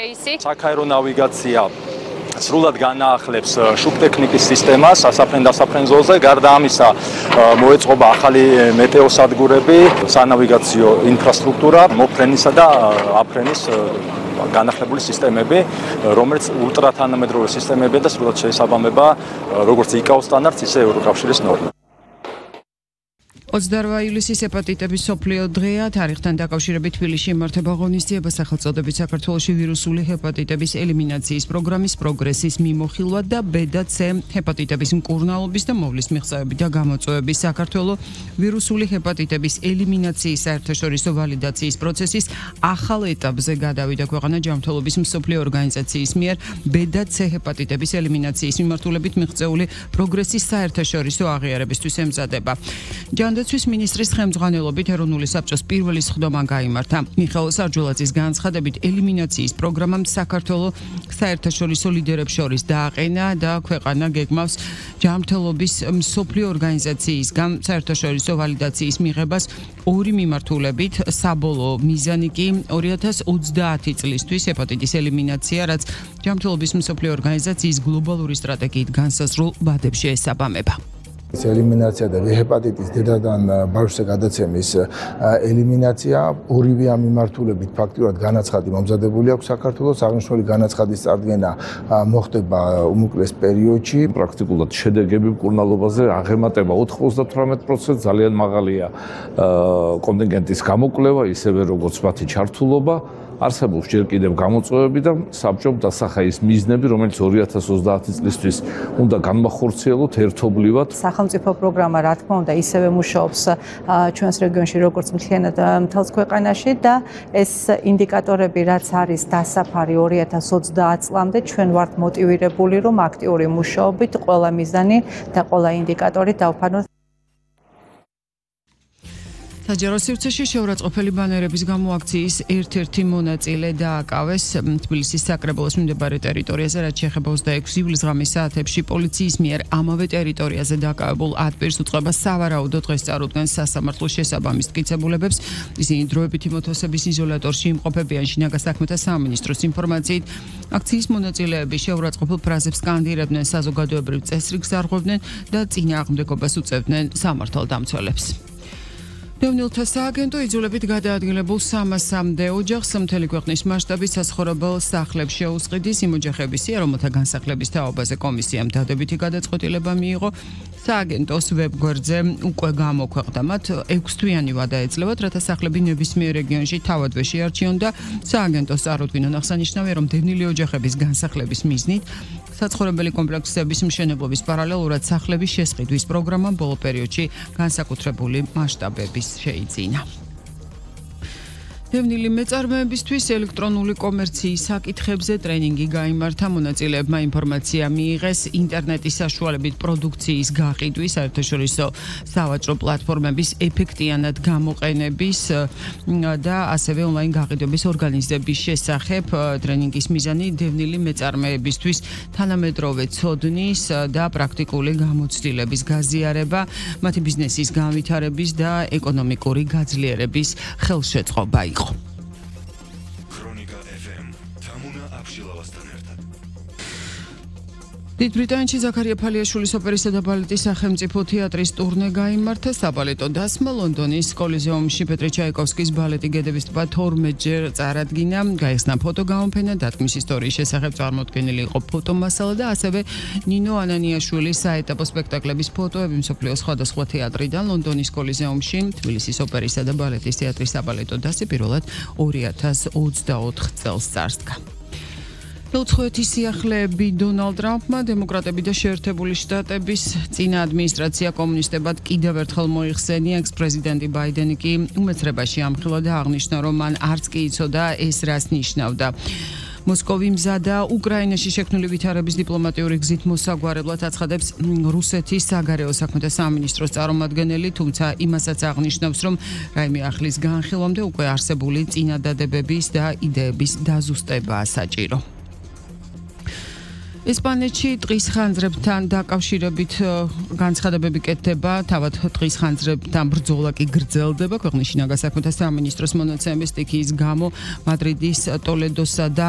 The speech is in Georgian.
რეისი. Საქაერო ნავიგაცია სრულად განაახლებს შუბტექნიკის სისტემას სასაფრენ-დასაფრენ ზოლზე. გარდა ამისა, მოეწყობა ახალი მეტეოსადგურები, სანავიგაციო ინფრასტრუქტურა, მოფრენისა და აფრენის განახლებული სისტემები, რომელიც ულტრათანამედროვე სისტემებია და სრულად შეესაბამება როგორც ICAO სტანდარტს, ისე ევროკავშირის ნორმებს. 28 ივლისის ჰეპატიტების მსოფლიო დღეა. თარიღთან დაკავშირებით თბილისში იმართება ღონისძიება სახელწოდებით საქართველოში ვირუსული ჰეპატიტების ელიმინაციის პროგრამის პროგრესის მიმოხილვად და B და C ჰეპატიტების მკურნალობის და მოვლის მიღწევები და გამოწვევების საქართველოს ვირუსული ჰეპატიტების ელიმინაციის საერთაშორისო ვალიდაციის პროცესის ახალ ეტაპზე გადავიდა ქვეყანა ჯანმრთელობის მსოფლიო ორგანიზაციის მიერ B და C ჰეპატიტების ელიმინაციის მიმართულებით მიღწეული პროგრესის საერთაშორისო აღიარებისთვის ემზადება. თვის მინისტრის ხელმძღვანელობით ეროვნული საბჭოს პირველი სხდომა გაიმართა. მიხეილ სარჯულაძის განცხადებით ელიმინაციის პროგრამამ საქართველოს საერთაშორისო ლიდერებს შორის დააყენა და ქვეყანა გეგმავს ჯანმრთელობის მსოფლიო ორგანიზაციისგან საერთაშორისო ვალიდაციის მიღებას ორი მიმართულებით. საბოლოო მიზანი კი 2030 წლისთვის ჰეპატიტის ელიმინაცია, რაც ჯანმრთელობის მსოფლიო ორგანიზაციის გლობალური სტრატეგიით განსაზღვრულ ვადებში ესაბამება. ელიმინაცია და ჰეპატიტის დედადან ბავშვზე გადაცემის ელიმინაცია ორივე ამ მიმართულებით ფაქტურად განაცხადი მომზადებული აქვს საქართველოს. აღნიშნული განაცხადის წარდგენა მოხდება უმოკლეს პერიოდში. პრაქტიკულად შედეგები მკურნალობაზე აღემატება 98%, ძალიან მაღალია კონტინგენტის გამოკვლევა, ისევე როგორც მათი ჩართულობა. არსებობს ჯერ კიდევ გამოწვევები და საბჭომ დასახა ის მიზნები, რომელიც 2030 წლისთვის უნდა განმახორციელოთ ერთობლივად. სახელმწიფო პროგრამა, რა თქმა უნდა, ისევე მუშაობს ჩვენს რეგიონში, როგორც მთლიანად მთელს ქვეყანაში და ეს ინდიკატორები, რაც არის დასაფარი 2030 წლამდე, ჩვენ ვართ მოტივირებული, რომ აქტიური მუშაობით ყველა მიზანი და ყველა ინდიკატორი დავფარნოთ. საჯარო სივრცეში შეურაცხყოფელი ბანერების გამო აქციის ერთ-ერთი მონაწილე დააკავეს თბილისის საკრებულოს მიმდებარე ტერიტორიაზე, რაც შეეხება 26 ივლისს ღამის საათებში პოლიციის მიერ ამავე ტერიტორიაზე დაკავებულ ათპირს უწყება სავარაუდო დღეს წარუდგენს სასამართლოს შესაბამის მტკიცებულებებს. ისინი დროებითი მოთხოვების იზოლატორში იმყოფებიან. შინაგან საქმეთა სამინისტროს ინფორმაციით, აქციის მონაწილეები შეურაცხყოფელ ფრაზებს სკანდირებდნენ, საზოგადოებრივ წესრიგს არღვევდნენ და წინააღმდეგობას უწევდნენ სამართალდამცველებს. დევნილთა სააგენტო იძულებით გადაადგილებულ 300-მდე ოჯახს მთელი ქვეყნის მასშტაბით საცხოვრებელ სახლებს შეუსყიდის. იმ ოჯახების სია, რომელთა განსახლების თაობაზე კომისიამ დადებითი გადაწყვეტილება მიიღო. სააგენტოს ვებგვერდზე უკვე გამოქვეყნდა მათ 6 თვიანი ვადა ეძლევათ, რათა სახლები ნებისმიერ რეგიონში თავადვე შეარჩიონ და სააგენტოს წარუდგინონ. აღსანიშნავია, რომ დევნილი ოჯახების განსახლების მიზნით საცხოვრებელი კომპლექსების მშენებლობის პარალელურად სახლების შესყიდვის პროგრამამ ბოლო პერიოდში განსაკუთრებული მასშტაბების შეიძინა. დევნილი მეწარმეებისთვის ელექტრონული კომერციის საკითხებზე ტრენინგი გაიმართა. მონაწილეებმა ინფორმაცია მიიღეს ინტერნეტის საშუალებით პროდუქციის გაყიდვის, საერთაშორისო სავაჭრო პლატფორმების ეფექტიანად გამოყენების და ასევე ონლაინ გაყიდვების ორგანიზების შესახებ. ტრენინგის მიზანი დევნილი მეწარმეებისთვის თანამედროვე ცოდნის და პრაქტიკული გამოცდილების გაზიარება, მათი ბიზნესის განვითარების და ეკონომიკური გაძლიერების ხელშეწყობა იყო. დიდ ბრიტანეთში ზაქარია ფალიაშვილის ოპერისა და ბალეტის სახელმწიფო თეატრის ტურნე გაიმართა. საბალეტო დასმა ლონდონის კოლიზეუმში პეტრე ჩაიკოვსკის ბალეტი გედების ტბა 12-ჯერ წარადგინა. გაიხსნა ფოტოგამოფენა, დათქმის ისტორიის შესახებ წარმოდგენილი იყო ფოტომასალა და ასევე ნინო ანანიაშვილის საეტაპო სპექტაკლების ფოტოები მსოფლიოს სხვადასხვა თეატრიდან. ლონდონის კოლიზეუმში თბილისის ოპერისა და ბალეტის თეატრის საბალეტო დასი პირველად 2024 წელს წარსდგა. უცხოეთის სიახლეები დონალდ ტრამპმა დემოკრატები და შეერთებული შტატების წინა ადმინისტრაცია კომუნისტებად კიდევ ერთხელ მოიხსენია. ექს-პრეზიდენტი ბაიდენი კი უმეცრებაში ამხილა და აღნიშნა, რომ მან არც კი იცოდა ეს რას ნიშნავდა. მოსკოვი მზადა უკრაინაში შექმნილი ვითარების დიპლომატიური გზით მოსაგვარებლად აცხადებს რუსეთის საგარეო საქმეთა სამინისტროს წარმომადგენელი, თუმცა იმასაც აღნიშნავს, რომ რაიმე ახლის განხილვამდე უკვე არსებული წინადადებების და იდეების დაზუსტებაა საჭირო. ესპანეთში ტყის ხანძრებთან დაკავშირებით განცხადებები კეთდება, თავად ტყის ხანძრებთან ბრძოლა კი გრძელდება. ქვეყნის შინაგან საქმეთა სამინისტროს მონაცემების სტიქიის გამო მადრიდის, ტოლედოსა და